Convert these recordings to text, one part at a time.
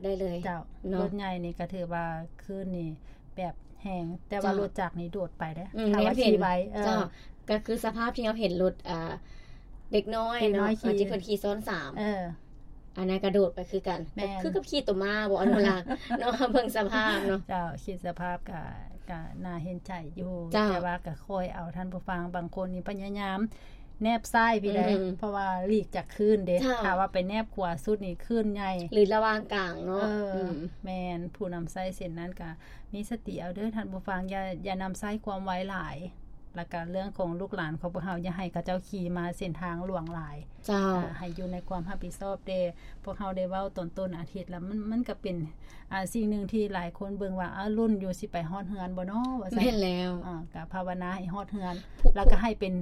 ໄດ້ເລີຍ ເຈົ້າ ເນາະ ລົດໃຫຍ່ນີ້ກໍຖືວ່າຄື້ນນີ້ແບບແຮງ ແຕ່ວ່າ ເຈົ້າ ລົດຈັກນີ້ໂດດໄປເດ້ ອືມ ຖ້າວ່າຂີ່ໄວ ເອີ ເຈົ້າ ກໍຄືສະພາບທີ່ເຮົາເຫັນລົດ ອ່າ ເດັກນ້ອຍ ເດັກນ້ອຍ ເນາະ ຂີ່ ທີ່ເພິ່ນຂີ່ຊ້ອນສາມ ເອີ ອັນນັ້ນກະໂດດໄປຄືກັນ ແມ່ນ ຄືກັບຂີ່ຕົວມ້າບໍ່ ອະນຸລັກ ເນາະ ເບິ່ງສະພາບເນາະ ເຈົ້າ ຄິດສະພາບກະ ກະໜ້າເຫັນໃຈຢູ່ ເຈົ້າ ແຕ່ວ່າກະຄ່ອຍເອົາ ທ່ານຜູ້ຟັງ ບາງຄົນນີ້ພະຍາຍາມແນບຊ້າຍພີ້ໃດ ອືມ ເພາະວ່າຫຼີກຈາກຄື້ນເດ້ ເຈົ້າ ຖ້າວ່າໄປແນບຂວາສຸດນີ້ຄື້ນໃຫຍ່ ຫຼືລະຫວ່າງກາງເນາະ ເອີ ອືມ ແມ່ນ ຜູ້ນຳໃຊ້ເສັ້ນນັ້ນກະມີສະຕິເອົາເດີທ່ານຜູ້ຟັງ ຢ່າ ຢ່ານຳໃຊ້ຄວາມໄວຫຼາຍ ແລ້ວກະເລື່ອງຂອງລູກຫຼານຂອງພວກເຮົາ ຢ່າໃຫ້ເຂົາເຈົ້າຂີ່ມາເສັ້ນທາງຫຼວງຫຼາຍ ເຈົ້າ ອ່າ ໃຫ້ຢູ່ໃນຄວາມຮັບຜິດຊອບແດ່ ພວກເຮົາໄດ້ເວົ້າຕອນຕົ້ນອາທິດລະ ມັນ ມັນກະເປັນ ອ່າ ສິ່ງໜຶ່ງທີ່ຫຼາຍຄົນເບິ່ງວ່າ ອ້າ ລຸ້ນຢູ່ ຊິໄປຮອດເຮືອນບໍ່ນໍ ວ່າຊັ້ນ ແມ່ນແລ້ວ ອ່າ ກະພາວະນາໃຫ້ຮອດເຮືອນ ແລ້ວກະໃຫ້ເປັນ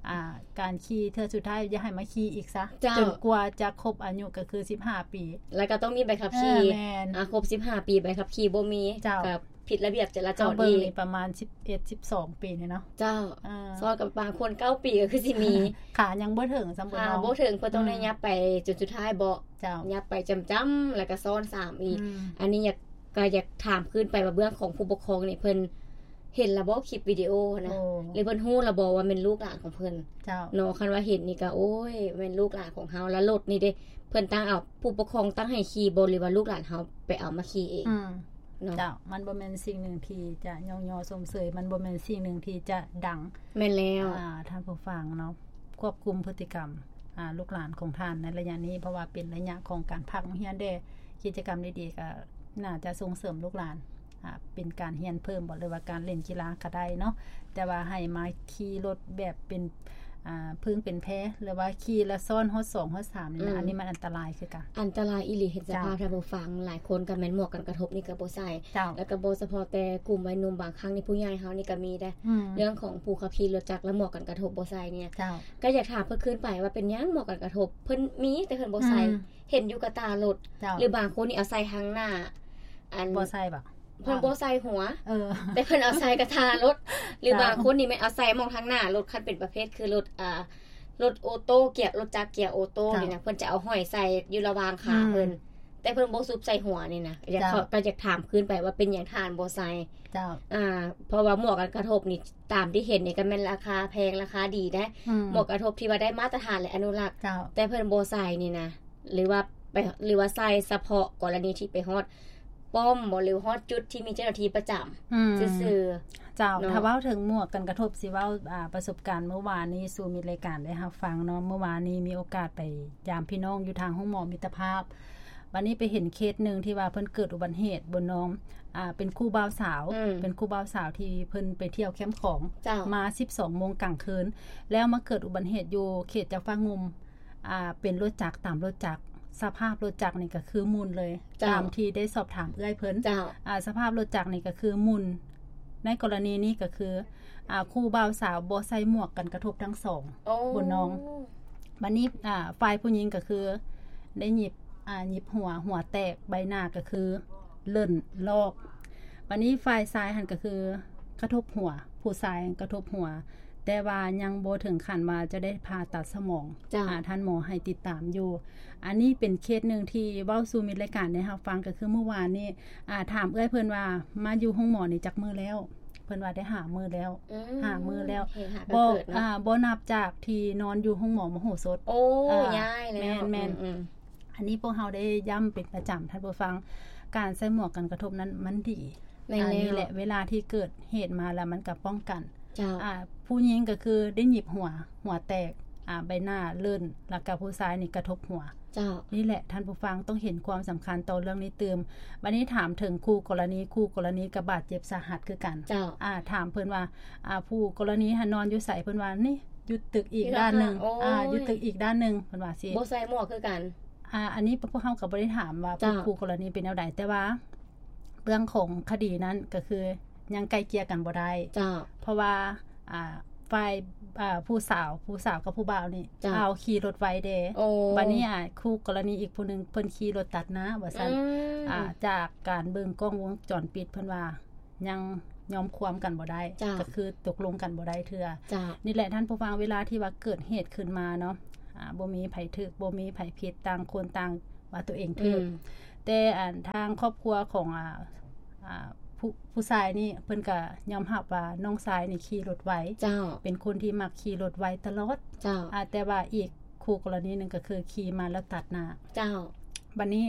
ອ່າ ການຂີ່ເທື່ອສຸດທ້າຍ ຢ່າໃຫ້ມາຂີ່ອີກຊະ ເຈົ້າ ຈົນກວ່າຈະຄົບອາຍຸ ກະຄືສິບຫ້າປີ ແລ້ວກະຕ້ອງມີໃບຂັບຂີ່ ເອີ ແມ່ນ ອ່າ ຄົບສິບຫ້າປີ ໃບຂັບຂີ່ບໍ່ມີ ເຈົ້າ ກະ ຜິດລະບຽບຈະລາຈອນອີກ ເຮົາເບິ່ງນີ້ປະມານສິບເອັດ ສິບສອງປີນີ້ເນາະ ເຈົ້າ ເອີ ຊອດກັບບາງຄົນເກົ້າປີກໍຄືຊິມີ ຂາຍັງບໍ່ເຖິງຊ້ຳ ຂາບໍ່ເຖິງ ເພິ່ນຕ້ອງໄດ້ ອືມ ຫຍັບໄປຈົນສຸດທ້າຍເບາະ ເຈົ້າ ຫຍັບໄປຈ້ຳໆ ແລ້ວກໍຊ້ອນສາມອີກ ອືມ ອັນນີ້ຢາກ ກໍຢາກຖາມຄືນໄປວ່າເບື້ອງຂອງຜູ້ປົກຄອງນີ້ ເພິ່ນເຫັນລະບໍ່ຄລິບວິດີໂອຫັ້ນນະ ໂອ້ ຫຼືເພິ່ນຮູ້ລະບໍ່ວ່າແມ່ນລູກຫຼານຂອງເພິ່ນ ເຈົ້າ ເນາະ ຄັນວ່າເຫັນນີ້ກໍ ໂອ້ຍ ແມ່ນລູກຫຼານຂອງເຮົາ ລະລົດນີ້ເດ້ ເພິ່ນຕັ້ງເອົາ ຜູ້ປົກຄອງຕັ້ງໃຫ້ຂີ່ບໍ່ ຫຼືວ່າລູກຫຼານເຮົາໄປເອົາມາຂີ່ເອງ ອືມ ເນາະ ເຈົ້າ ມັນບໍ່ແມ່ນສິ່ງໜຶ່ງທີ່ຈະຍ້ອງຍໍຊົມເຊີຍ ມັນບໍ່ແມ່ນສິ່ງໜຶ່ງທີ່ຈະດັງ ແມ່ນແລ້ວ ອ່າ ທ່ານຜູ້ຟັງເນາະ ຄວບຄຸມພຶດຕິກຳ ອ່າ ລູກຫຼານຂອງທ່ານໃນໄລຍະນີ້ ເພາະວ່າເປັນໄລຍະຂອງການພັກໂຮງຮຽນເດ້ ກິດຈະກຳດີໆ ກໍໜ້າຈະສົ່ງເສີມລູກຫຼານ ອ່າ ເປັນການຮຽນເພີ່ມບໍ ຫຼືວ່າການຫຼິ້ນກິລາກໍໄດ້ເນາະ ແຕ່ວ່າໃຫ້ມາຂີ່ລົດແບບເປັນ ອ່າ ເພິ່ງເປັນແພ ຫຼືວ່າຂີ່ລະຊ້ອນຮອດສອງຮອດສາມນີ້ນະ ອືມ ອັນນີ້ມັນອັນຕະລາຍຄືກັນ ອັນຕະລາຍອີ່ຫຼີ ເຫັນສະພາບ ເຈົ້າ ທ່ານຜູ້ຟັງ ຫຼາຍຄົນກໍແມ່ນໝວກກັນກະທົບນີ້ກໍບໍ່ໃສ່ ເຈົ້າ ແລ້ວກໍບໍ່ສະເພາະແຕ່ກຸ່ມໄວໜຸ່ມ ບາງຄັ້ງນີ້ຜູ້ໃຫຍ່ເຮົານີ້ກໍມີໄດ໋ ອືມ ເລື່ອງຂອງຜູ້ຂັບຂີ່ລົດຈັກ ແລະ ໝວກກັນກະທົບບໍ່ໃສ່ນີ້ ເຈົ້າ ກໍຢາກຖາມເພິ່ນຄືນໄປວ່າເປັນຫຍັງໝວກກັນກະທົບ ເພິ່ນມີແຕ່ເພິ່ນບໍ່ໃສ່ ອືມ ເຫັນຢູ່ກະຕາລົດ ເຈົ້າ ຫຼືບາງຄົນນີ້ເອົາໃສ່ທາງໜ້າ ອັນ ບໍ່ໃສ່ບໍ? ເພິ່ນບໍ່ໃສ່ຫົວ ເອີ ແຕ່ເພິ່ນເອົາໃສ່ກະຕາລົດ ຫຼືບາງຄົນນີ້ແມ່ນເອົາໃສ່ໝ່ອງທາງໜ້າລົດ ຄັນເປັນປະເພດຄືລົດ ອ່າ ລົດໂອໂຕ້ ກຽ ລົດຈັກກຽໂອໂຕ້ນີ້ນະ ເຈົ້າ ເພິ່ນຈະເອົາຫ້ອຍໃສ່ຢູ່ລະຫວ່າງຂາເພິ່ນ ອືມ ແຕ່ເພິ່ນບໍ່ຊຸບໃສ່ຫົວນີ້ນະ ຢາກ ເຈົ້າ ກໍຢາກຖາມຄືນໄປວ່າເປັນຫຍັງທ່ານບໍ່ໃສ່ ເຈົ້າ ອ່າ ເພາະວ່າໝວກກັນກະທົບນີ້ ຕາມທີ່ເຫັນນີ້ກໍແມ່ນລາຄາແພງ ລາຄາດີໄດ໋ ອືມ ໝວກກັນກະທົບທີ່ວ່າໄດ້ມາດຕະຖານ ແລະ ອະນຸລັກ ເຈົ້າ ແຕ່ເພິ່ນບໍ່ໃສ່ນີ້ນະ ຫຼືວ່າໄປ ຫຼືວ່າໃສ່ສະເພາະກໍລະນີທີ່ໄປຮອດປ້ອມບໍ ຫຼືຮອດຈຸດທີ່ມີເຈົ້າໜ້າທີ່ປະຈຳ ອືມ ຊື່ໆ ເຈົ້າ ເນາະ ຖ້າເວົ້າເຖິງໝວກກັນກະທົບ ຊິເວົ້າ ອ່າ ປະສົບການມື້ວານນີ້ສູ່ມິດລາຍການໄດ້ຮັບຟັງເນາະ ມື້ວານນີ້ມີໂອກາດໄປຢາມພີ່ນ້ອງຢູ່ທາງໂຮງໝໍມິດຕະພາບ ບາດນີ້ໄປເຫັນເຄສໜຶ່ງທີ່ວ່າເພິ່ນເກີດອຸບັດເຫດ ບົນນ້ອງ ອ່າ ເປັນຄູ່ບ່າວສາວ ອືມ ເປັນຄູ່ບ່າວສາວທີ່ເພິ່ນໄປທ່ຽວແຄມຂອງ ເຈົ້າ ມາສິບສອງໂມງກາງຄືນ ແລ້ວມາເກີດອຸບັດເຫດຢູ່ເຂດເຈົ້າຟ້າງຸ່ມ ອ່າ ເປັນລົດຈັກ ຕາມລົດຈັກ ສະພາບລົດຈັກນີ້ກໍຄືໝຸ່ນເລີຍ ເຈົ້າ ຕາມທີ່ໄດ້ສອບຖາມເອື້ອຍເພິ່ນ ເຈົ້າ ອ່າ ສະພາບລົດຈັກນີ້ກໍຄືໝຸ່ນ ໃນກໍລະນີນີ້ກໍຄື ອ່າ ຄູ່ບ່າວສາວບໍ່ໃສ່ໝວກກັນກະທົບທັງສອງ ໂອ້ ບົນນ້ອງ ບາດນີ້ ອ່າ ຝ່າຍຜູ້ຍິງກໍຄືໄດ້ຫຍິບ ອ່າ ຫຍິບຫົວ ຫົວແຕກ ໃບໜ້າກໍຄືເລີ້ນລອກ ບາດນີ້ຝ່າຍຊາຍຫັ້ນກໍຄືກະທົບຫົວ ຜູ້ຊາຍກະທົບຫົວ ແຕ່ວ່າຍັງບໍ່ເຖິງຂັ້ນວ່າຈະໄດ້ຜ່າຕັດສະໝອງ ເຈົ້າ ອ່າ ທ່ານໝໍໃຫ້ຕິດຕາມຢູ່ ອັນນີ້ເປັນເຄສໜຶ່ງທີ່ເວົ້າສູ່ມິດລາຍການໄດ້ຮັບຟັງ ກໍຄືມື້ວານນີ້ ອ່າ ຖາມເອື້ອຍເພິ່ນວ່າມາຢູ່ໂຮງໝໍນີ້ຈັກມື້ແລ້ວ ເພິ່ນວ່າໄດ້ຫ້າມື້ແລ້ວ ອືມ ຫ້າມື້ແລ້ວ ເຮັດຫາກໍ ບໍ່ ເກີດເນາະ ອ່າ ບໍ່ນັບຈາກທີ່ນອນຢູ່ໂຮງໝໍມະໂຫສົດ ໂອ້ ອ່າ ຍ້າຍແລ້ວ ແມ່ນໆ ອືມໆ ອັນນີ້ພວກເຮົາໄດ້ຢ້ຳເປັນປະຈຳ ທ່ານຜູ້ຟັງ ການໃສ່ໝວກກັນກະທົບນັ້ນມັນດີ ແມ່ນແລ້ວ ອັນນີ້ແຫຼະ ເວລາທີ່ເກີດເຫດມາແລ້ວມັນກໍປ້ອງກັນ ເຈົ້າ ອ່າ ຜູ້ຍິງກໍຄືໄດ້ຫຍິບຫົວ ຫົວແຕກ ອ່າ ໃບໜ້າເລີ້ນ ແລ້ວກໍຜູ້ຊາຍນີ້ກະທົບຫົວ ເຈົ້າ ນີ້ແຫຼະ ທ່ານຜູ້ຟັງຕ້ອງເຫັນຄວາມສຳຄັນຕໍ່ເລື່ອງນີ້ຕື່ມ ບາດນີ້ຖາມເຖິງຄູ່ກໍລະນີ ຄູ່ກໍລະນີກໍບາດເຈັບສາຫັດຄືກັນ ເຈົ້າ ອ່າ ຖາມເພິ່ນວ່າ ອ່າ ຄູ່ກໍລະນີຫັ້ນນອນຢູ່ໃສ ເພິ່ນວ່ານີ້ຢູ່ຕຶກອີກດ້ານໜຶ່ງ ໂອ້ຍ ອ່າ ຢູ່ຕຶກອີກດ້ານໜຶ່ງ ເພິ່ນວ່າຊີ້ ບໍ່ໃສ່ໝວກຄືກັນ ອ່າ ອັນນີ້ພວກເຮົາກໍບໍ່ໄດ້ຖາມວ່າ ເຈົ້າ ຄູ່ກໍລະນີເປັນແນວໃດ ແຕ່ວ່າເລື່ອງຂອງຄະດີນັ້ນກໍຄືຍັງໄກ່ເກ່ຍກັນບໍ່ໄດ້ ເຈົ້າ ເພາະວ່າ ອ່າ ຝ່າຍ ອ່າ ຜູ້ສາວ ຜູ້ສາວກັບຜູ້ບ່າວນີ້ ເຈົ້າ ອ້າວ ຂີ່ລົດໄວເດ້ ໂອ້ ບາດນີ້ ອ່າ ຄູ່ກໍລະນີອີກຜູ້ໜຶ່ງເພິ່ນຂີ່ລົດຕັດໜ້າວ່າຊັ້ນ ອືມ ອ່າ ຈາກການເບິ່ງກ້ອງວົງຈອນປິດ ເພິ່ນວ່າຍັງຍອມຄວາມກັນບໍ່ໄດ້ ເຈົ້າ ກໍຄືຕົກລົງກັນບໍ່ໄດ້ເທື່ອ ເຈົ້າ ນີ້ແຫຼະທ່ານຜູ້ຟັງ ເວລາທີ່ວ່າເກີດເຫດຂຶ້ນມາເນາະ ອ່າ ບໍ່ມີໃຜຖືກ ບໍ່ມີໃຜຜິດ ຕ່າງຄົນຕ່າງ ວ່າຕົວເອງຖືກ ອືມ ແຕ່ອັນທາງຄອບຄົວຂອງ ອ່າ ອ່າ ຜູ້ ຜູ້ຊາຍນີ້ ເພິ່ນກໍຍອມຮັບວ່ານ້ອງຊາຍນີ້ຂີ່ລົດໄວ ເຈົ້າ ເປັນຄົນທີ່ມັກຂີ່ລົດໄວຕະຫຼອດ ເຈົ້າ ອ່າ ແຕ່ວ່າອີກຄູ່ກໍລະນີໜຶ່ງກໍຄືຂີ່ມາແລ້ວຕັດໜ້າ ເຈົ້າ ບັດນີ້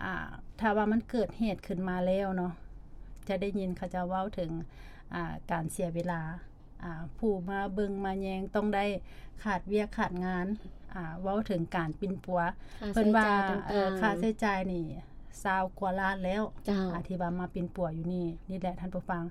ອ່າ ຖ້າວ່າມັນເກີດເຫດຂຶ້ນມາແລ້ວເນາະ ຈະໄດ້ຍິນເຂົາເຈົ້າເວົ້າເຖິງ ອ່າ ການເສຍເວລາ ອ່າ ຜູ້ມາເບິ່ງມາແຍງຕ້ອງໄດ້ຂາດວຽກຂາດງານ ອ່າ ເວົ້າເຖິງການປິ່ນປົວ ຄ່າ ເພິ່ນວ່າ ໃຊ້ຈ່າຍຕ່າງໆ ເອີ ຄ່າໃຊ້ຈ່າຍນີ້ຊາວກວ່າລ້ານແລ້ວ ເຈົ້າ ອ່າ ທີ່ວ່າມາປິ່ນປົວຢູ່ນີ້ ນີ້ແຫຼະທ່ານຜູ້ຟັງ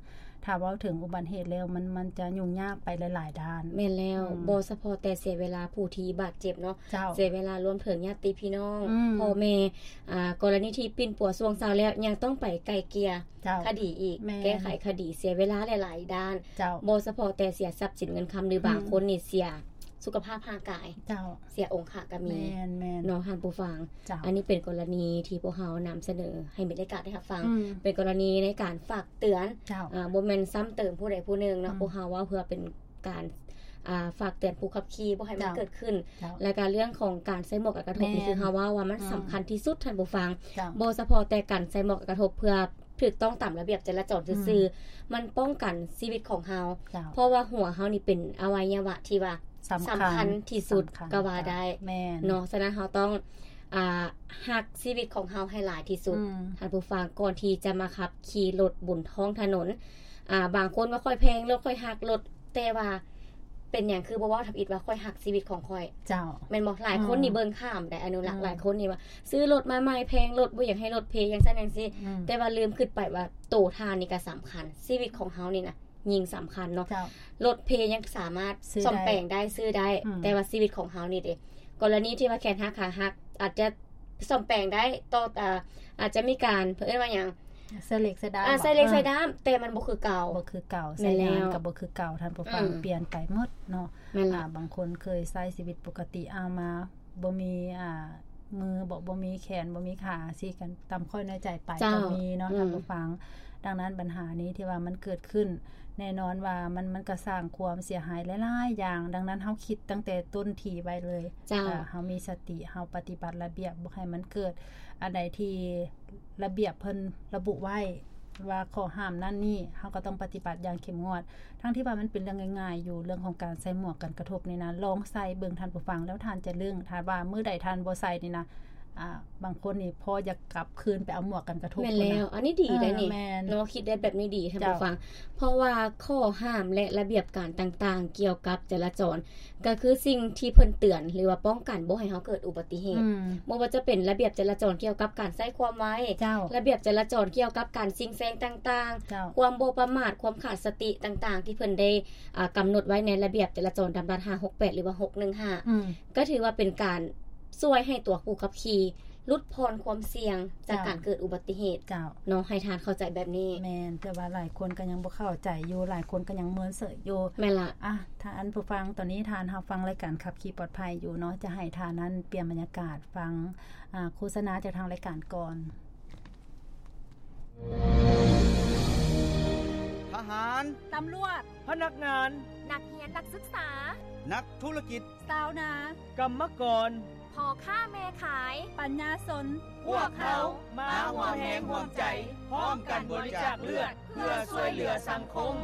ຖ້າເວົ້າເຖິງອຸບັດເຫດແລ້ວ ມັນ ມັນຈະຫຍຸ້ງຍາກໄປຫຼາຍໆດ້ານ ແມ່ນແລ້ວ ອືມ ບໍ່ສະເພາະແຕ່ເສຍເວລາຜູ້ທີ່ບາດເຈັບເນາະ ເຈົ້າ ເສຍເວລາລວມເຖິງຍາດຕິພີ່ນ້ອງ ອືມ ພໍ່ແມ່ ອ່າ ກໍລະນີທີ່ປິ່ນປົວຊ່ວງເຊົ້າແລ້ວ ຍັງຕ້ອງໄປໄກ່ເກ່ຍ ເຈົ້າ ຄະດີອີກ ແມ່ນ ແກ້ໄຂຄະດີ ເສຍເວລາຫຼາຍໆດ້ານ ເຈົ້າ ບໍ່ສະເພາະແຕ່ເສຍຊັບສິນເງິນຄຳ ຫຼື ອືມ ບາງຄົນນີ້ເສຍສຸຂະພາບຮ່າງກາຍ ເຈົ້າ ເສຍອົງຄະກໍມີ ແມ່ນໆ ເນາະທ່ານຜູ້ຟັງ ເຈົ້າ ອັນນີ້ເປັນກໍລະນີທີ່ພວກເຮົານຳສະເໜີໃຫ້ມີລາຍການໄດ້ຮັບຟັງ ອືມ ເປັນກໍລະນີໃນການຝາກເຕືອນ ເຈົ້າ ອ່າ ບໍ່ແມ່ນຊ້ຳເຕີມຜູ້ໃດຜູ້ໜຶ່ງເນາະ ອືມ ພວກເຮົາເວົ້າເພື່ອເປັນ ການ ອ່າ ຝາກເຕືອນຜູ້ຂັບຂີ່ບໍ່ໃຫ້ມັນ ເຈົ້າ ເກີດຂຶ້ນ ເຈົ້າ ແລະກະເລື່ອງຂອງການໃສ່ໝວກກັນກະທົບ ແມ່ນ ນີ້ຄືເຮົາເວົ້າວ່າມັນ ອືມ ສຳຄັນທີ່ສຸດທ່ານຜູ້ຟັງ ເຈົ້າ ບໍ່ສະເພາະແຕ່ການໃສ່ໝວກກັນກະທົບເພື່ອຖືກຕ້ອງຕາມລະບຽບຈະລາຈອນຊື່ໆ ອືມ ມັນປ້ອງກັນຊີວິດຂອງເຮົາ ເຈົ້າ ເພາະວ່າຫົວເຮົານີ້ເປັນອະໄວຍະວະທີ່ວ່າສຳຄັນ ສຳຄັນທີ່ສຸດ ສຳຄັນ ກໍວ່າໄດ້ ເຈົ້າ ແມ່ນ ເນາະ ສະນັ້ນເຮົາຕ້ອງ ອ່າ ຮັກຊີວິດຂອງເຮົາໃຫ້ຫຼາຍທີ່ສຸດ ອືມ ທ່ານຜູ້ຟັງ ກ່ອນທີ່ຈະມາຂັບຂີ່ລົດບົນທ້ອງຖະໜົນ ອ່າ ບາງຄົນວ່າຂ້ອຍແພງລົດ ຂ້ອຍຮັກລົດ ແຕ່ວ່າເປັນຫຍັງຄືບໍ່ເວົ້າທຳອິດວ່າຂ້ອຍຮັກຊີວິດຂອງຂ້ອຍ ເຈົ້າ ແມ່ນບໍ່? ຫຼາຍຄົນນີ້ ອືມ ເບິ່ງຂ້າມໄດ໋ ອະນຸລັກ ອືມ ຫຼາຍຄົນນີ້ວ່າຊື້ລົດມາໃໝ່ແພງລົດ ບໍ່ຢາກໃຫ້ລົດເພ ຈັ່ງຊັ້ນຈັ່ງຊີ້ ອືມ ແຕ່ວ່າລືມຄິດໄປວ່າໂຕທ່ານນີ້ກໍສຳຄັນ ຊີວິດຂອງເຮົານີ້ນະ ຍິ່ງສຳຄັນເນາະ ເຈົ້າ ລົດເພຍັງສາມາດ ຊື້ໄດ້ ສ້ອມແປງໄດ້ ຊື້ໄດ້ ອືມ ແຕ່ວ່າຊີວິດຂອງເຮົານີ້ເດ ກໍລະນີທີ່ວ່າແຂນຫັກ ຂາຫັກ ອາດຈະສ້ອມແປງໄດ້ ຕໍ່ ອາ ອາດຈະມີການ ເພິ່ນເອີ້ນວ່າຫຍັງ ໃສ່ເຫຼັກໃສ່ດ້າມ ອ່າ ບໍ່? ໃສ່ເຫຼັກໃສ່ດ້າມ ເອີ ແຕ່ມັນບໍ່ຄືເກົ່າ ບໍ່ຄືເກົ່າ ແມ່ນແລ້ວ ໃຊ້ງານກໍບໍ່ຄືເກົ່າ ທ່ານຜູ້ຟັງ ອືມ ປ່ຽນໄປໝົດເນາະ ແມ່ນລະ ອ່າ ບາງຄົນເຄີຍໃຊ້ຊີວິດປົກກະຕິ ເອົາມາ ບໍ່ມີ ອ່າ ມືບໍ ບໍ່ມີແຂນ ບໍ່ມີຂາ ຊິກັນຕາມຂ້ອຍນ້ອຍໃຈໄປ ເຈົ້າ ກໍມີເນາະ ອືມ ທ່ານຜູ້ຟັງ ດັ່ງນັ້ນບັນຫານີ້ທີ່ວ່າມັນເກີດຂຶ້ນ ແນ່ນອນວ່າມັນ ມັນກໍສ້າງຄວາມເສຍຫາຍຫຼາຍໆຢ່າງ ດັ່ງນັ້ນເຮົາຄິດຕັ້ງແຕ່ຕົ້ນທີໄວ້ເລີຍ ເຈົ້າ ເອີ ເຮົາມີສະຕິ ເຮົາປະຕິບັດລະບຽບ ບໍ່ໃຫ້ມັນເກີດອັນໃດທີ່ລະບຽບເພິ່ນລະບຸໄວ້ ວ່າຂໍ້ຫ້າມນັ້ນນີ້ ເຮົາກໍຕ້ອງປະຕິບັດຢ່າງເຂັ້ມງວດ ທັງທີ່ວ່າມັນເປັນເລື່ອງງ່າຍໆຢູ່ ເລື່ອງຂອງການໃສ່ໝວກກັນກະທົບນີ້ນະ ລອງໃສ່ເບິ່ງທ່ານຜູ້ຟັງ ແລ້ວທ່ານຈະລຶ້ງ ຖ້າວ່າມື້ໃດທ່ານບໍ່ໃສ່ນີ້ນະ ອ່າ ບາງຄົນນີ້ພໍຢາກກັບຄືນໄປເອົາໝວກກັນກະທົບ ແມ່ນແລ້ວ ພຸ້ນນະ ອັນນີ້ດີໄດ໋ນີ້ ເອີ ແມ່ນ ເນາະ ຄິດໄດ້ແບບນີ້ດີທ່ານ ເຈົ້າ ຜູ້ຟັງ ເພາະວ່າຂໍ້ຫ້າມ ແລະ ລະບຽບການຕ່າງໆ ກ່ຽວກັບຈະລາຈອນ ກໍຄືສິ່ງທີ່ເພິ່ນເຕືອນ ຫຼືວ່າປ້ອງກັນບໍ່ໃຫ້ເຮົາເກີດອຸບັດຕິເຫດ ອືມ ບໍ່ວ່າຈະເປັນລະບຽບຈະລາຈອນກ່ຽວກັບການໃຊ້ຄວາມໄວ ເຈົ້າ ລະບຽບຈະລາຈອນກ່ຽວກັບການຊິງແຊງຕ່າງໆ ເຈົ້າ ຄວາມບໍ່ປະໝາດ ຄວາມຂາດສະຕິຕ່າງໆ ທີ່ເພິ່ນໄດ້ ອ່າ ກຳນົດໄວ້ໃນລະບຽບຈະລາຈອນດຳລັດຫ້າຫົກແປດ ຫຼືວ່າຫົກໜຶ່ງຫ້າ ອືມ ກໍຖືວ່າເປັນການຊ່ວຍໃຫ້ຕົວຜູ້ຂັບຂີ່ຫຼຸດຜ່ອນຄວາມສ່ຽງຈາກ ເຈົ້າ ການເກີດອຸບັດຕິເຫດ ເຈົ້າ ເນາະ ໃຫ້ທ່ານເຂົ້າໃຈແບບນີ້ ແມ່ນ ແຕ່ວ່າຫຼາຍຄົນກໍຍັງບໍ່ເຂົ້າໃຈຢູ່ ຫຼາຍຄົນກໍຍັງເມີນເສີຍຢູ່ ແມ່ນລະ ອ່ະ ທ່ານຜູ້ຟັງ ຕອນນີ້ທ່ານຮັບຟັງລາຍການຂັບຂີ່ປອດໄພຢູ່ເນາະ ຈະໃຫ້ທ່ານນັ້ນປ່ຽນບັນຍາກາດ ຟັງ ອ່າ ໂຄສະນາຈາກທາງລາຍການກ່ອນ. ທະຫານ, ຕຳຫຼວດ, ພະນັກງານ, ນັກຮຽນນັກສຶກສາ, ນັກທຸລະກິດ, ຊາວນາ, ກຳມະກອນ, ພໍ່ຄ້າແມ່ຂາຍ, ປັນຍາຊົນ, ພວກເຮົາມາຮ່ວມແຮງຮ່ວມໃຈ ພ້ອມກັນບໍລິຈາກເລືອດ ເພື່ອຊ່ວຍເຫຼືອສັງຄົມ.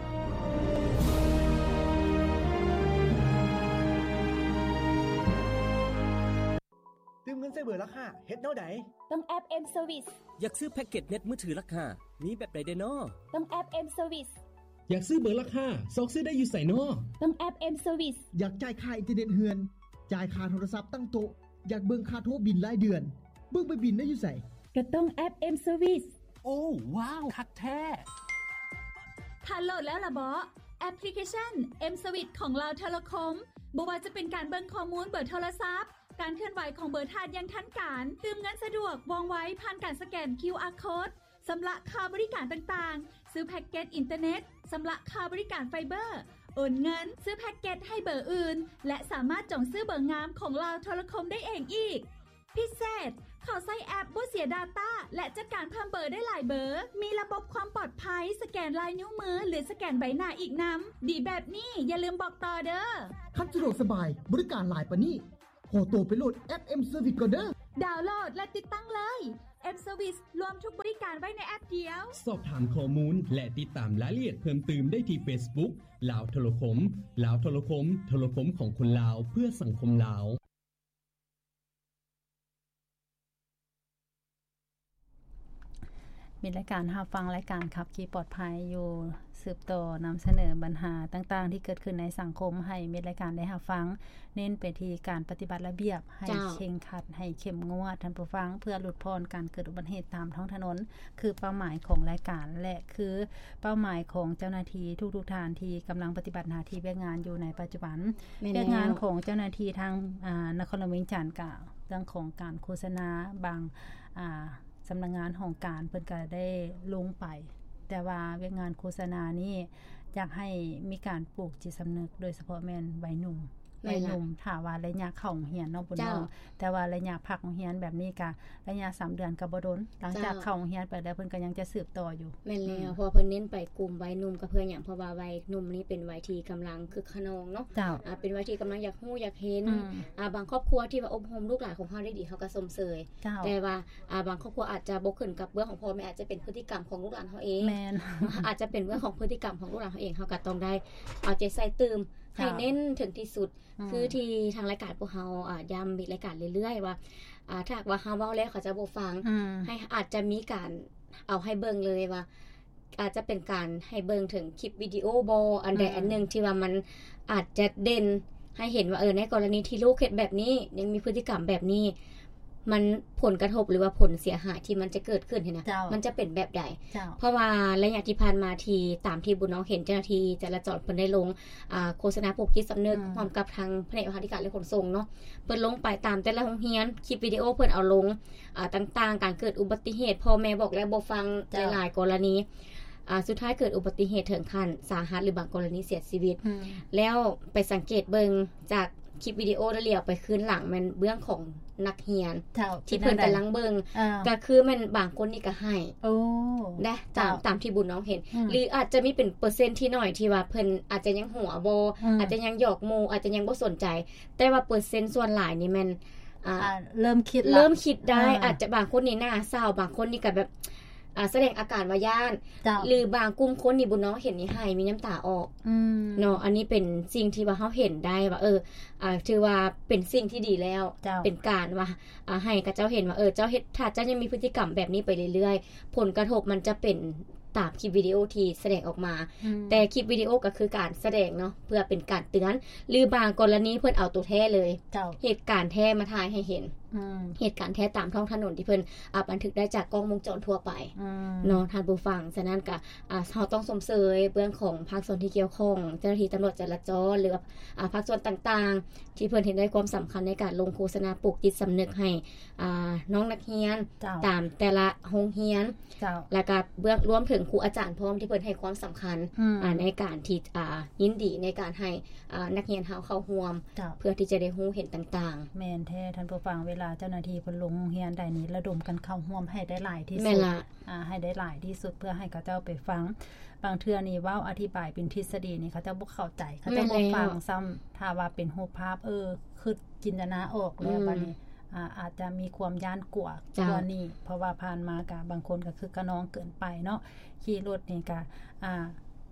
ຕື່ມເງິນໃສ່ເບີລັກຫ້າ ເຮັດແນວໃດ? ຕ້ອງແອັບ M Service. ຢາກຊື້ແພັກເກັດເນັດມືຖືລັກຫ້າ ມີແບບໃດແດ່ນໍ? ຕ້ອງແອັບ M Service. ຢາກຊື້ເບີລັກຫ້າ ຊອກຊື້ໄດ້ຢູ່ໃສນໍ? ຕ້ອງແອັບ M Service. ຢາກຈ່າຍຄ່າອິນເຕີເນັດເຮືອນ, ຈ່າຍຄ່າໂທລະສັບຕັ້ງໂຕະ, ຢາກເບິ່ງຄ່າໂທບິນລາຍເດືອນ, ເບິ່ງໃບບິນໄດ້ຢູ່ໃສ? ກໍຕ້ອງແອັບ M Service. ໂອ້ ວ້າວ ຄັກແທ້! ທ່ານໂຫຼດແລ້ວລະເບາະ? ແອັບພລິເຄຊັນ M Service ຂອງລາວໂທລະຄົມ ບໍ່ວ່າຈະເປັນການເບິ່ງຂໍ້ມູນເບີໂທລະສັບ, ການເຄື່ອນໄຫວຂອງເບີທ່ານຢ່າງທັນການ, ຕື່ມເງິນສະດວກ ວ່ອງໄວ ຜ່ານການສະແກນ ຄິວອາ ໂຄດ, ຊຳລະຄ່າບໍລິການຕ່າງໆ, ຊື້ແພັກເກັດອິນເຕີເນັດ, ຊຳລະຄ່າບໍລິການໄຟເບີ, ໂອນເງິນ, ຊື້ແພັກເກັດໃຫ້ເບີອື່ນ ແລະ ສາມາດຈອງຊື້ເບີງາມຂອງລາວໂທລະຄົມໄດ້ເອງອີກ. ພິເສດ, ເຂົ້າໃຊ້ແອັບບໍ່ເສຍດາຕ້າ ແລະ ຈັດການເພີ່ມເບີໄດ້ຫຼາຍເບີ, ມີລະບົບຄວາມປອດໄພ ສະແກນລາຍນິ້ວມື ຫຼື ສະແກນໃບໜ້າອີກນຳ. ດີແບບນີ້ຢ່າລືມບອກຕໍ່ເດີ້. ຄັນສະດວກສະບາຍ, ບໍລິການຫຼາຍປານນີ້, ຂໍໂຕໄປໂຫຼດແອັບ M Service ກ່ອນເດີ້. ດາວໂຫຼດ ແລະ ຕິດຕັ້ງເລີຍ. M Service ລວມທຸກບໍລິການໄວ້ໃນແອັບດຽວ. ສອບຖາມຂໍ້ມູນ ແລະ ຕິດຕາມລາຍລະອຽດເພີ່ມຕື່ມໄດ້ທີ່ Facebook ລາວໂທລະຄົມ. ລາວໂທລະຄົມ, ໂທລະຄົມຂອງຄົນລາວ ເພື່ອສັງຄົມລາວ. ມິດລາຍການຮັບຟັງລາຍການຂັບຂີ່ປອດໄພຢູ່ ສືບຕໍ່ນຳສະເໜີບັນຫາຕ່າງໆທີ່ເກີດຂຶ້ນໃນສັງຄົມໃຫ້ມິດລາຍການໄດ້ຮັບຟັງ, ເນັ້ນໄປທີ່ການປະຕິບັດລະບຽບໃຫ້ ເຈົ້າ ເຄັ່ງຄັດ, ໃຫ້ເຂັ້ມງວດ, ທ່ານຜູ້ຟັງ, ເພື່ອຫຼຸດຜ່ອນການເກີດອຸບັດຕິເຫດຕາມທ້ອງຖະໜົນ ຄືເປົ້າໝາຍຂອງລາຍການ ແລະ ຄືເປົ້າໝາຍຂອງເຈົ້າໜ້າທີ່ທຸກໆທ່ານທີ່ກຳລັງປະຕິບັດໜ້າທີ່ວຽກງານຢູ່ໃນປັດຈຸບັນ. ແມ່ນແລ້ວ. ວຽກງານຂອງເຈົ້າໜ້າທີ່ທາງ ອາ ນະຄອນຫຼວງວຽງຈັນ ກະເລື່ອງຂອງການໂຄສະນາ ບາງ ອາ ສຳນັກງານຫ້ອງການເພິ່ນກະໄດ້ລົງໄປ, ແຕ່ວ່າວຽກງານໂຄສະນານີ້ຢາກໃຫ້ມີການປູກຈິດສຳນຶກ ໂດຍສະເພາະແມ່ນໄວໜຸ່ມ. ແມ່ນລະ. ໄວໜຸ່ມ ຖ້າວ່າໄລຍະເຂົ້າໂຮງຮຽນເນາະ ບຸນນ້ອງ, ເຈົ້າ ແຕ່ວ່າໄລຍະພັກໂຮງຮຽນແບບນີ້ກະໄລຍະສາມເດືອນກະບໍ່ດົນ, ຫຼັງຈາກ ເຈົ້າ ເຂົ້າໂຮງຮຽນໄປແລ້ວ ເພິ່ນກະຍັງຈະສືບຕໍ່ຢູ່. ແມ່ນແລ້ວ. ອືມ ເພາະວ່າເພິ່ນເນັ້ນໄປກຸ່ມໄວໜຸ່ມ ກະເພື່ອຫຍັງ? ເພາະວ່າໄວໜຸ່ມນີ້ເປັນໄວທີ່ກຳລັງຄຶກຂະນອງເນາະ. ເຈົ້າ. ອາ ເປັນໄວທີ່ກຳລັງຢາກຮູ້ຢາກເຫັນ. ອືມ ອາ ບາງຄອບຄົວທີ່ວ່າອົບຮົມລູກຫຼານຂອງເຮົາໄດ້ດີ ເຮົາກະຊົມເຊີຍ. ເຈົ້າ. ແຕ່ວ່າ ອາ ບາງຄອບຄົວອາດຈະບໍ່ຂຶ້ນກັບເບື້ອງຂອງພໍ່ແມ່, ອາດຈະເປັນພຶດຕິກຳຂອງລູກຫຼານເຮົາເອງ. ແມ່ນ. ອາດຈະເປັນເລື່ອງຂອງພຶດຕິກຳຂອງລູກຫຼານເຮົາເອງ, ເຮົາກະຕ້ອງໄດ້ເອົາໃຈໃສ່ຕື່ມ ເຈົ້າ ໃຫ້ເນັ້ນເຖິງທີ່ສຸດ. ອືມ ຄືທີ່ທາງລາຍການພວກເຮົາ ອາ ຢ້ຳມີດລາຍການເລື້ອຍໆວ່າ ອາ ຖ້າຫາກວ່າເຮົາເວົ້າແລ້ວເຂົາຈະບໍ່ຟັງ, ອືມ ໃຫ້ ອາດຈະມີການເອົາໃຫ້ເບິ່ງເລີຍວ່າ ອາດຈະເປັນການໃຫ້ເບິ່ງເຖິງຄລິບວິດີໂອບໍ ອັນໃດ ອືມ ອັນໜຶ່ງທີ່ວ່າມັນອາດຈະເດັ່ນໃຫ້ເຫັນວ່າ ເອີ ໃນກໍລະນີທີ່ລູກເຮັດແບບນີ້ ຍັງມີພຶດຕິກຳແບບນີ້ ມັນ ຜົນກະທົບ ຫຼືວ່າຜົນເສຍຫາຍທີ່ມັນຈະເກີດຂຶ້ນຫັ້ນນະ ເຈົ້າ ມັນຈະເປັນແບບໃດ? ເຈົ້າ. ເພາະວ່າໄລຍະທີ່ຜ່ານມາ ທີ່ຕາມທີ່ບຸນນ້ອງເຫັນເຈົ້າໜ້າທີ່ຈະລາຈອນເພິ່ນໄດ້ລົງ ອາ ໂຄສະນາປູກຈິດສຳນຶກ ອືມ ຮ່ວມກັບທາງພະແນກໂຍທາທິການ ແລະ ຂົນສົ່ງເນາະ, ເພິ່ນລົງໄປຕາມແຕ່ລະໂຮງຮຽນ, ຄລິບວິດີໂອເພິ່ນເອົາລົງ ອາ ຕ່າງໆ ການເກີດອຸບັດຕິເຫດ ພໍ່ແມ່ບອກແລ້ວບໍ່ຟັງ ເຈົ້າ ໃນຫຼາຍກໍລະນີ ອາ ສຸດທ້າຍເກີດອຸບັດຕິເຫດເຖິງຂັ້ນສາຫັດ ຫຼືບາງກໍລະນີເສຍຊີວິດ. ອືມ ແລ້ວໄປສັງເກດເບິ່ງຈາກຄລິບວິດີໂອ ແລ້ວຫຼຽວໄປຄືນຫຼັງ ແມ່ນເບື້ອງຂອງນັກຮຽນ ເຈົ້າ ທີ່ເພິ່ນກຳລັງເບິ່ງ ເອີ ກະຄືແມ່ນບາງຄົນນີ້ກະໄຫ້ ໂອ້ ໄດ້ ຕາມ ເຈົ້າ ຕາມທີ່ບຸນນ້ອງເຫັນ. ອືມ ຫຼືອາດຈະມີເປັນເປີເຊັນທີ່ໜ້ອຍ ທີ່ວ່າເພິ່ນອາດຈະຍັງຫົວບໍ່ ອືມ ອາດຈະຍັງຫຍອກໝູ່ ອາດຈະຍັງບໍ່ສົນໃຈ, ແຕ່ວ່າເປີເຊັນສ່ວນຫຼາຍນີ້ແມ່ນ ອ່າ ອ່າ ເລີ່ມຄິດລະ ເລີ່ມຄິດໄດ້ ເອີ ອາດຈະບາງຄົນນີ້ໜ້າເສົ້າ ບາງຄົນນີ້ກະແບບ ອ່າ ສະແດງອາການວ່າຢ້ານ ເຈົ້າ ຫຼືບາງກຸ່ມຄົນນີ້ ບຸນນ້ອງເຫັນນີ້ໄຫ້ ມີນ້ຳຕາອອກ ອືມ ເນາະ. ອັນນີ້ເປັນສິ່ງທີ່ວ່າເຮົາເຫັນໄດ້ວ່າ ເອີ ອ່າ ຖືວ່າເປັນສິ່ງທີ່ດີແລ້ວ ເຈົ້າ ເປັນການວ່າ ອ່າ ໃຫ້ເຂົາເຈົ້າເຫັນວ່າ ເອີ ເຈົ້າເຮັດ ຖ້າເຈົ້າຍັງມີພຶດຕິກຳແບບນີ້ໄປເລື້ອຍໆ ຜົນກະທົບມັນຈະເປັນຕາມຄລິບວິດີໂອທີ່ສະແດງອອກມາ. ອືມ ແຕ່ຄລິບວິດີໂອກະຄືການສະແດງເນາະ ເພື່ອເປັນການເຕືອນ ຫຼືບາງກໍລະນີເພິ່ນເອົາໂຕແທ້ເລີຍ ເຈົ້າ ເຫດການແທ້ມາຖ່າຍໃຫ້ເຫັນ ອືມ ເຫດການແທ້ຕາມທ້ອງຖະໜົນທີ່ເພິ່ນ ອາ ບັນທຶກໄດ້ຈາກກ້ອງວົງຈອນທົ່ວໄປ ອືມ ເນາະ ທ່ານຜູ້ຟັງ. ສະນັ້ນກະ ອາ ເຮົາຕ້ອງຊົມເຊີຍເບື້ອງຂອງພາກສ່ວນທີ່ກ່ຽວຂ້ອງ ເຈົ້າໜ້າທີ່ຕຳຫຼວດຈະລາຈອນ ຫຼືວ່າ ອາ ພາກສ່ວນຕ່າງໆ ທີ່ເພິ່ນເຫັນໄດ້ຄວາມສຳຄັນໃນການລົງໂຄສະນາປູກຈິດສຳນຶກໃຫ້ ອ່າ ນ້ອງນັກຮຽນ ເຈົ້າ ຕາມແຕ່ລະໂຮງຮຽນ ເຈົ້າ ແລ້ວກະເບື້ອງ ລວມເຖິງຄູອາຈານພ້ອມ ທີ່ເພິ່ນໃຫ້ຄວາມສຳຄັນ ອືມ ອ່າ ໃນການທີ່ ອ່າ ຍິນດີໃນການໃຫ້ ອ່າ ນັກຮຽນເຮົາເຂົ້າຮ່ວມ ເຈົ້າ ເພື່ອທີ່ຈະໄດ້ຮູ້ເຫັນຕ່າງໆ. ແມ່ນແທ້ທ່ານຜູ້ຟັງ, ເວລາເຈົ້າໜ້າທີ່ເພິ່ນລົງໂຮງຮຽນໃດນີ້ ລະດົມກັນເຂົ້າຮ່ວມໃຫ້ໄດ້ຫຼາຍທີ່ສຸດ. ແມ່ນລະ. ອ່າ ໃຫ້ໄດ້ຫຼາຍທີ່ສຸດ ເພື່ອໃຫ້ເຂົາເຈົ້າໄປຟັງ. ບາງເທື່ອນີ້ເວົ້າອະທິບາຍເປັນທິດສະດີນີ້ ເຂົາເຈົ້າບໍ່ເຂົ້າໃຈ ເຂົາເຈົ້າບໍ່ຟັງຊ້ຳ. ຖ້າວ່າເປັນຮູບພາບ ເອີ ຄິດຈິນຕະນາອອກແລ້ວ ອືມ ບາດນີ້ ອາ ອາດຈະມີຄວາມຢ້ານກົວ ເຈົ້າ ກວ່ານີ້ ເພາະວ່າຜ່ານມາກະບາງຄົນກະຄຶກຂະນອງເກີນໄປເນາະ. ຂີ່ລົດນີ້ກະ ອ່າ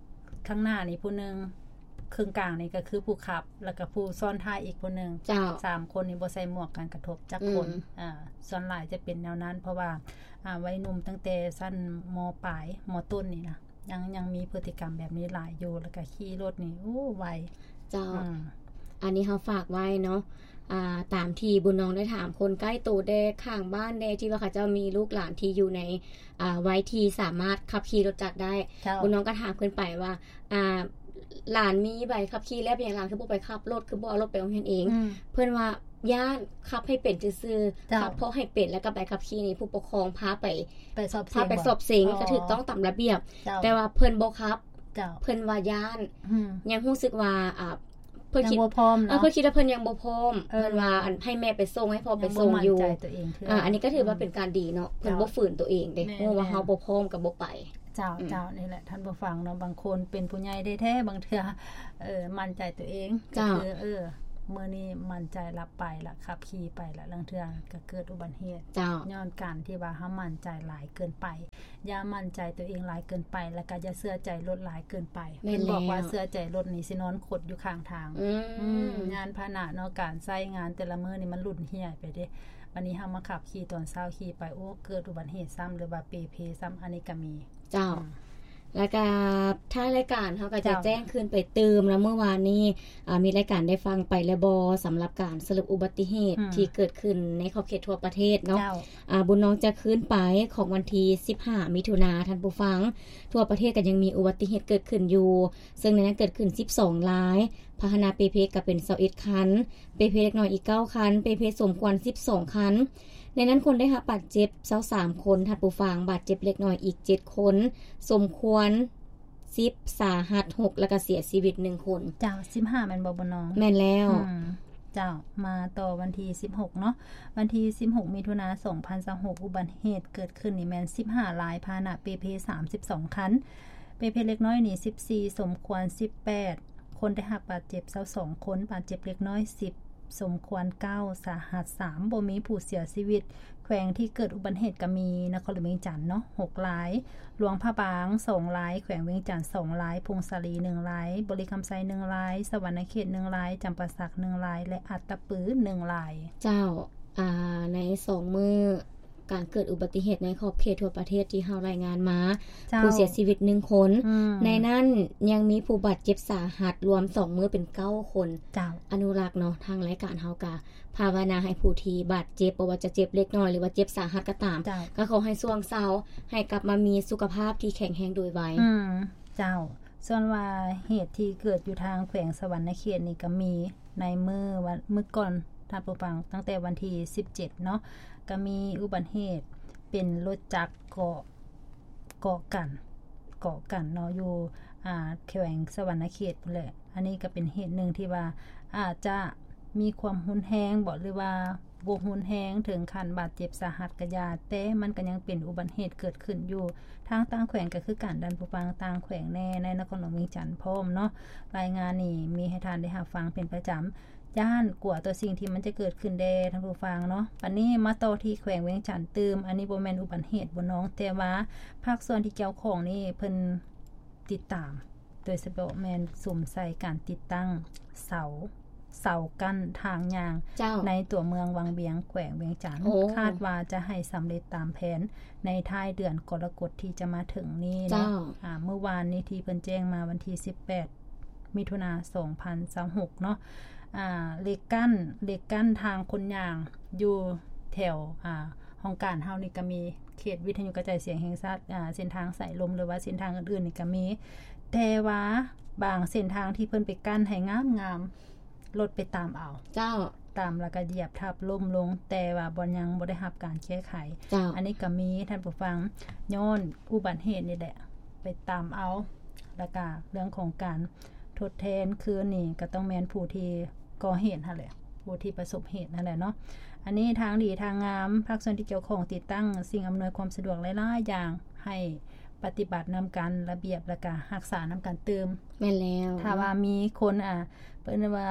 ຂ້າງໜ້ານີ້ຜູ້ໜຶ່ງ ເຄິ່ງກາງນີ້ກະຄືຜູ້ຂັບ ແລ້ວກະຜູ້ຊ້ອນທ້າຍອີກຜູ້ໜຶ່ງ ເຈົ້າ ສາມຄົນນີ້ບໍ່ໃສ່ໝວກກັນກະທົບຈັກຄົນ. ອືມ ອ່າ ສ່ວນຫຼາຍຈະເປັນແນວນັ້ນ ເພາະວ່າ ອ່າ ໄວໜຸ່ມຕັ້ງແຕ່ຊັ້ນ ມ.ປາຍ ມ.ຕົ້ນນີ້ນະ ຍັງ ຍັງມີພຶດຕິກຳແບບນີ້ຫຼາຍຢູ່ ແລ້ວກະຂີ່ລົດນີ້ ໂອ້ ໄວ. ເຈົ້າ ອືມ ອັນນີ້ເຮົາຝາກໄວ້ເນາະ ອ່າ ຕາມທີ່ບຸນນ້ອງໄດ້ຖາມຄົນໃກ້ໂຕແດ່ ຂ້າງບ້ານແດ່ ທີ່ວ່າເຂົາເຈົ້າມີລູກຫຼານທີ່ຢູ່ໃນ ອ່າ ໄວທີ່ສາມາດຂັບຂີ່ລົດຈັກໄດ້. ເຈົ້າ ບຸນນ້ອງກະຖາມຂຶ້ນໄປວ່າ ອ່າ ຫຼານມີໃບຂັບຂີ່ແລ້ວ ເປັນຫຍັງຫຼານຄືບໍ່ໄປຂັບລົດ ຄືບໍ່ເອົາລົດໄປໂຮງຮຽນເອງ? ອືມ ເພິ່ນວ່າ ຢ້ານ ຂັບໃຫ້ເປັນຊື່ໆ ເຈົ້າ ຂັບເພາະໃຫ້ເປັນ ແລ້ວກະໃບຂັບຂີ່ນີ້ຜູ້ປົກຄອງພາໄປ ໄປສອບເສັງ ພາໄປສອບເສັງ ອໍ ກະຖືກຕ້ອງຕາມລະບຽບ ເຈົ້າ ແຕ່ວ່າເພິ່ນບໍ່ຂັບ ເຈົ້າ ເພິ່ນວ່າຢ້ານ ອືມ ຍັງຮູ້ສຶກວ່າ ອ່າ ເພິ່ນຄິດ ຍັງບໍ່ພ້ອມເນາະ ເອີ ເພິ່ນຄິດວ່າເພິ່ນຍັງບໍ່ພ້ອມ ເອີ ເພິ່ນວ່າ ອັນ ໃຫ້ແມ່ໄປສົ່ງ ໃຫ້ພໍ່ໄປສົ່ງຢູ່ ຍັງບໍ່ໝັ້ນໃຈຕົວເອງເທື່ອ. ອ່າ ອັນນີ້ກະຖືວ່າເປັນການດີເນາະ ເພິ່ນບໍ່ຝືນຕົວເອງເດ້ ຮູ້ວ່າເຮົາບໍ່ພ້ອມກະບໍ່ໄປ. ເຈົ້າ ອືມ ເຈົ້າ ນີ້ແຫຼະທ່ານຜູ້ຟັງເນາະ ບາງຄົນເປັນຜູ້ໃຫຍ່ແທ້ໆ ບາງເທື່ອ ເອີ ໝັ້ນໃຈຕົວເອງ ເຈົ້າ ກະຄື ເອີ ມື້ນີ້ໝັ້ນໃຈລະໄປລະ ຂັບຂີ່ໄປລະ ລາງເທື່ອກໍເກີດອຸບັດເຫດ ເຈົ້າ ຍ້ອນການທີ່ວ່າເຮົາໝັ້ນໃຈຫຼາຍເກີນໄປ. ຢ່າໝັ້ນໃຈຕົວເອງຫຼາຍເກີນໄປ ແລ້ວກໍຢ່າເຊື່ອໃຈລົດຫຼາຍເກີນໄປ. ແມ່ນແລ້ວ ເພິ່ນບອກວ່າເຊື່ອໃຈລົດນີ້ຊິນອນຂົດຢູ່ຂ້າງທາງ. ອືມ ອືມ ຍານພາຫະນະເນາະ ການໃຊ້ງານແຕ່ລະມື້ນີ້ມັນຫຼຸ້ນຫ່ຽວໄປເດ້. ບັດນີ້ເຮົາມາຂັບຂີ່ຕອນເຊົ້າຂີ່ໄປ ໂອ້ ເກີດອຸບັດເຫດຊ້ຳ ຫຼືວ່າເປເພຊ້ຳ ອັນນີ້ກໍມີ. ເຈົ້າ ອືມ ແລ້ວກໍທ້າຍລາຍການເຮົາກໍຈະ ເຈົ້າ ແຈ້ງຄືນໄປຕື່ມເນາະ ເມື່ອວານນີ້ ອ່າ ມີລາຍການໄດ້ຟັງໄປແລ້ວບໍ່ ສຳລັບການສະຫຼຸບອຸບັດຕິເຫດ ອືມ ທີ່ເກີດຂຶ້ນໃນຂອບເຂດທົ່ວປະເທດເນາະ? ເຈົ້າ ອ່າ ບຸນນອງຈະຄືນໄປຂອງວັນທີສິບຫ້າ ມິຖຸນາ ທ່ານຜູ້ຟັງ ທົ່ວປະເທດກໍຍັງມີອຸບັດຕິເຫດເກີດຂຶ້ນຢູ່ ເຊິ່ງໃນນັ້ນເກີດຂຶ້ນສິບສອງລາຍ, ພາຫະນະເປເພກໍເປັນຊາວເອັດຄັນ, ເປເພເດັກນ້ອຍອີກເກົ້າຄັນ, ເປເພສົມຄວນສິບສອງຄັນ. ໃນນັ້ນຄົນໄດ້ຮັບບາດເຈັບຊາວສາມຄົນ ທ່ານຜູ້ຟັງ, ບາດເຈັບເລັກນ້ອຍອີກເຈັດຄົນ, ສົມຄວນສິບ, ສາຫັດຫົກ ແລ້ວກໍເສຍຊີວິດໜຶ່ງຄົນ. ເຈົ້າ ສິບຫ້າແມ່ນບໍ່ ບຸນນອງ? ແມ່ນແລ້ວ. ອືມ ເຈົ້າ ມາຕໍ່ວັນທີສິບຫົກເນາະ, ວັນທີສິບຫົກ ມິຖຸນາ ສອງພັນຊາວຫົກ ອຸບັດເຫດເກີດຂຶ້ນນີ້ແມ່ນສິບຫ້າລາຍ, ພາຫະນະເປເພສາມສິບສອງຄັນ, ເປເພເລັກນ້ອຍນີ້ສິບສີ່, ສົມຄວນສິບແປດ, ຄົນໄດ້ຮັບບາດເຈັບຊາວສອງຄົນ, ບາດເຈັບເລັກນ້ອຍສິບ, ສົມຄວນເກົ້າ, ສາຫັດສາມ, ບໍ່ມີຜູ້ເສຍຊີວິດ. ແຂວງທີ່ເກີດອຸບັດເຫດກໍມີນະຄອນຫຼວງວຽງຈັນເນາະ ຫົກລາຍ, ຫຼວງພະບາງສອງລາຍ, ແຂວງວຽງຈັນສອງລາຍ, ຜົ້ງສາລີໜຶ່ງລາຍ, ບໍລິຄຳໄຊໜຶ່ງລາຍ, ສະຫວັນນະເຂດໜຶ່ງລາຍ, ຈຳປາສັກໜຶ່ງລາຍ ແລະ ອັດຕະປືໜຶ່ງລາຍ. ເຈົ້າ ອ່າ ໃນສອງມື້ການເກີດອຸບັດຕິເຫດໃນຂອບເຂດທົ່ວປະເທດທີ່ເຮົາລາຍງານມາ ເຈົ້າ ຜູ້ເສຍຊີວິດໜຶ່ງຄົນ, ອືມ ໃນນັ້ນຍັງມີຜູ້ບາດເຈັບສາຫັດລວມສອງມື້ເປັນເກົ້າຄົນ. ເຈົ້າ ອະນຸລັກເນາະ, ທາງລາຍການເຮົາກະພາວະນາໃຫ້ຜູ້ທີ່ບາດເຈັບ ບໍ່ວ່າຈະເຈັບເລັກນ້ອຍ ຫຼືວ່າເຈັບສາຫັດກໍຕາມ, ເຈົ້າ ກໍຂໍໃຫ້ຊ່ວງເຊົາ ໃຫ້ກັບມາມີສຸຂະພາບທີ່ແຂງແຮງໂດຍໄວ. ອືມ ເຈົ້າ. ສ່ວນວ່າເຫດທີ່ເກີດຢູ່ທາງແຂວງສະຫວັນນະເຂດນີ້ກໍມີ ໃນມື້ວັນ ມື້ກ່ອນ ທ່ານຜູ້ຟັງ, ຕັ້ງແຕ່ວັນທີສິບເຈັດເນາະ, ກໍມີອຸບັດເຫດເປັນລົດຈັກເກາະ ເກາະກັນ ເກາະກັນເນາະ ຢູ່ ອ່າ ແຂວງສະຫວັນນະເຂດພຸ້ນແຫຼະ. ອັນນີ້ກໍເປັນເຫດໜຶ່ງທີ່ວ່າອາດຈະມີຄວາມຮຸນແຮງບໍ ຫຼືວ່າບໍ່ຮຸນແຮງເຖິງຂັ້ນບາດເຈັບສາຫັດກະຢ່າ, ແຕ່ມັນກໍຍັງເປັນອຸບັດເຫດເກີດຂຶ້ນຢູ່ທາງຕ່າງແຂວງກໍຄືກັນ, ທ່ານຜູ້ຟັງ, ຕ່າງແຂວງແດ່, ໃນນະຄອນຫຼວງວຽງຈັນພ້ອມເນາະ. ລາຍງານນີ້ມີໃຫ້ທ່ານໄດ້ຮັບຟັງເປັນປະຈຳ. ຢ້ານກົວຕໍ່ສິ່ງທີ່ມັນຈະເກີດຂຶ້ນແດ່ ທ່ານຜູ້ຟັງເນາະ. ບັດນີ້ມາຕໍ່ທີ່ແຂວງວຽງຈັນຕື່ມ, ອັນນີ້ບໍ່ແມ່ນອຸບັດເຫດ ບຸນນອງ, ແຕ່ວ່າພາກສ່ວນທີ່ກ່ຽວຂ້ອງນີ້ເພິ່ນຕິດຕາມ, ໂດຍສະເພາະແມ່ນສຸມໃສ່ການຕິດຕັ້ງເສົາ ເສົາກັ້ນທາງຍ່າງ ເຈົ້າ ໃນຕົວເມືອງວັງວຽງ ແຂວງວຽງຈັນ. ໂອ້ ຄາດວ່າຈະໃຫ້ສຳເລັດຕາມແຜນໃນທ້າຍເດືອນກໍລະກົດທີ່ຈະມາເຖິງນີ້ເນາະ. ເຈົ້າ ອາ ມື້ວານນີ້ທີ່ເພິ່ນແຈ້ງມາ ວັນທີສິບແປດ ມິຖຸນາ ສອງພັນຊາວຫົກເນາະ, ອ່າ ເຫຼັກກັ້ນ ເຫຼັກກັ້ນທາງຄົນຍ່າງຢູ່ແຖວ ອ່າ ຫ້ອງການເຮົານີ້ກໍມີ, ເຂດວິທະຍຸກະຈາຍສຽງແຫ່ງຊາດ, ອ່າ ເສັ້ນທາງສາຍລົມ ຫຼືວ່າເສັ້ນທາງອື່ນໆນີ້ກໍມີ, ແຕ່ວ່າບາງເສັ້ນທາງທີ່ເພິ່ນໄປກັ້ນໃຫ້ງາມໆ ລົດໄປຕຳເອົາ. ເຈົ້າ. ຕຳແລ້ວກໍຢຽບທັບລົ້ມລົງ, ແຕ່ວ່າບໍ່ ຍັງບໍ່ໄດ້ຮັບການແກ້ໄຂ. ເຈົ້າ. ອັນນີ້ກໍມີ, ທ່ານຜູ້ຟັງ, ຍ້ອນອຸບັດເຫດນີ້ແຫຼະ ໄປຕຳເອົາ. ແລ້ວກໍເລື່ອງຂອງການທົດແທນຄືນນີ້ ກໍຕ້ອງແມ່ນຜູ້ທີ່ກໍ່ເຫດຫັ້ນແຫຼະ, ຜູ້ທີ່ປະສົບເຫດຫັ້ນແຫຼະເນາະ. ອັນນີ້ທາງດີທາງງາມ, ພາກສ່ວນທີ່ກ່ຽວຂ້ອງຕິດຕັ້ງສິ່ງອຳນວຍຄວາມສະດວກຫຼາຍໆຢ່າງ ໃຫ້ປະຕິບັດນຳກັນລະບຽບ ແລ້ວກໍຮັກສານຳກັນຕື່ມ. ແມ່ນແລ້ວ. ຖ້າວ່າມີຄົນ ອ່າ ເອີ້ນວ່າ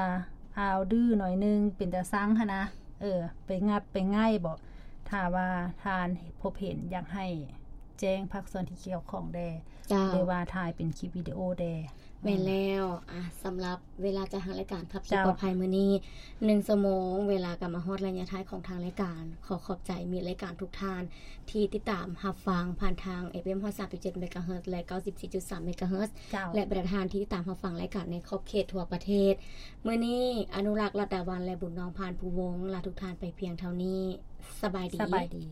ອ້າວດື້ໜ້ອຍໜຶ່ງ ເປັນຕາຊັງຫັ້ນນະ, ເອີ ໄປງັດໄປໄງ່ບໍ, ຖ້າວ່າທ່ານພົບເຫັນ ຢາກໃຫ້ແຈ້ງພາກສ່ວນທີ່ກ່ຽວຂ້ອງແດ່. ເຈົ້າ. ຫຼືວ່າຖ່າຍເປັນຄລິບວິດີໂອແດ່. ແມ່ນແລ້ວ. ອາ ສຳລັບເວລາຈັດທາງລາຍການຂັບຂີ່ ເຈົ້າ ປອດໄພມື້ນີ້ ໜຶ່ງຊົ່ວໂມງ ເວລາກໍມາຮອດໄລຍະທ້າຍຂອງທາງລາຍການ. ຂໍຂອບໃຈມິດລາຍການທຸກທ່ານ ທີ່ຕິດຕາມຮັບຟັງຜ່ານທາງ ເອັຟເອັມ ຮ້ອຍສາມຈຸດເຈັດ ເມກາເຮີດ ແລະ ເກົ້າສິບສີ່ຈຸດສາມ ເມກາເຮີດ ເຈົ້າ ແລະ ບັນດາທ່ານທີ່ຕິດຕາມຮັບຟັງລາຍການໃນຂອບເຂດທົ່ວປະເທດ. ມື້ນີ້ ອະນຸລັກ ລັດດາວັນ ແລະ ບຸນນອງ ພານພູວົງ ລາທຸກທ່ານໄປພຽງເທົ່ານີ້. ສະບາຍດີ. ສະບາຍດີ.